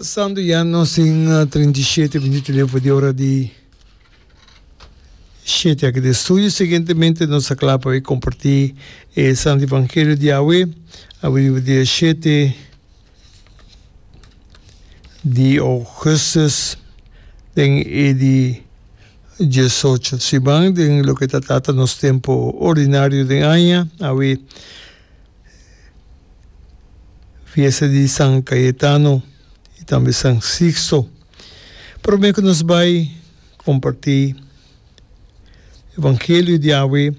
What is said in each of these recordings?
Santo ya nos tin 37 minuut leu for di ora di shete aki den studio. Siguientemente nos ta kla pa kompartí e Santo Evangelio di awe. Awe riba dia shete di ougùstùs den e di diesocho siman den loke ta trata nos tempu ordinario den aña. Awe Fiesta di San Cayetano y tambe San Sixto. Prome cu nos bay comparti Evangelio di awe,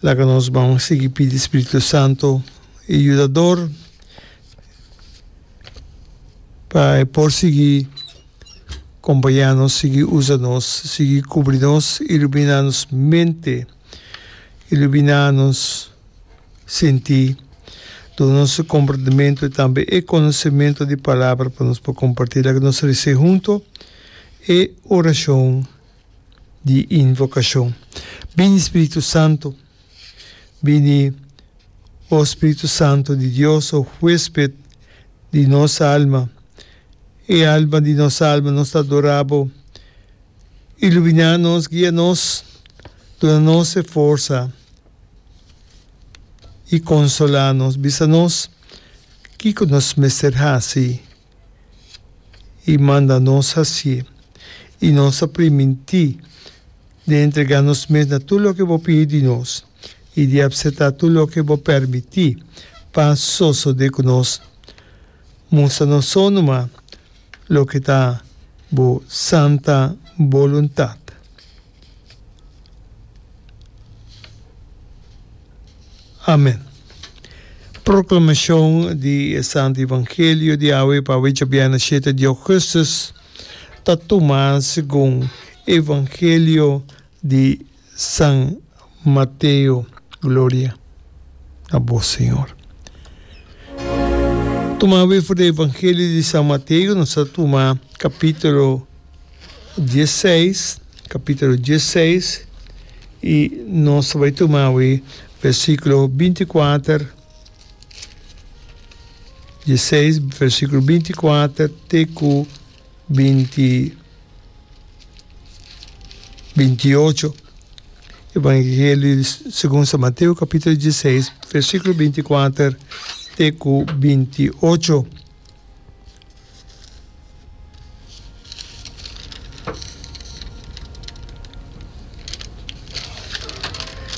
laga nos ban sigui pidi Spiritu Santo e Yudador pa e por sigui compaña nos, sigui usa nos, sigui cubri nos, ilumina nos mente, ilumina nos. Sinti, duna nos e komprendementu i tambe e konosementu di palabra pa nos por kompartí. Laga nos rese hunto e orashon di invokashon. Bini Spiritu Santu, bini, o Spiritu Santu di Dios, o huesped di nos alma, e alma di nos alma, nos ta adorá Bo. Iluminá nos, guia nos, duna nos e forsa. i konsolá nos, bisa nos kiko nos mester hasi i manda nos hasié. I nos a primintí di entregá nos mes na tur loke bo pidi di nos i di apseptá tur loke bo permití pa sosodé ku nos. Mustra nos so numa loke ta bo santa boluntat. Amen. Proclamacion di e Santo Evangelio di awe pa awe djabièrnè shete di augustus ta tuma segun Evangelio di San Mateo. Gloria na bo Señor. Tuma awe for di Evangelio di San Mateo nos ta tuma capitulo diesseis, capítulo diesseis, i nos ta bai tuma awe versículo binti kuater, diesseis, versículo binti kuater te ku binti, binti ocho. Evangelio segun San Mateo, capítulo diesseis, versículo binti kuater te ku binti ocho.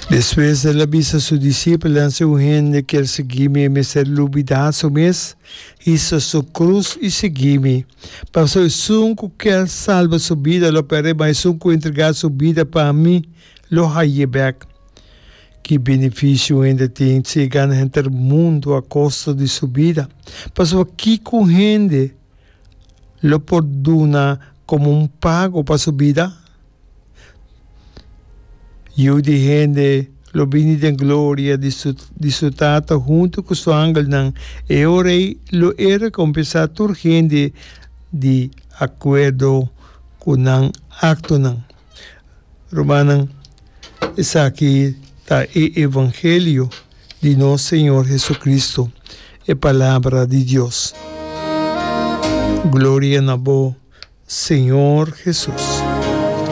Despues el a bisa su disipelnan, Si un hende kier sigui mi, e mester lubidá su mes, hisa su krus i sigui mi. Pasobra esun ku kier salba su bida lo pèrdè, ma esun ku entregá su bida pa mi lo hañ'é bèk. Ki benefisio un hende tin si e gana henter mundu a kosto di su bida? Pasobra kiko un hende lo por duna komo un pago pa su bida? Yu di hende lo bini den gloria di su di su Tata huntu ku su angelnan, e ora ei lo e rekompensá tur hende di akuerdo ku nan aktonan. Rumannan, esaki ta e evangelio di nos Señor Jesucristo, e Palabra di Dios. Gloria na bo, Señor Jesus.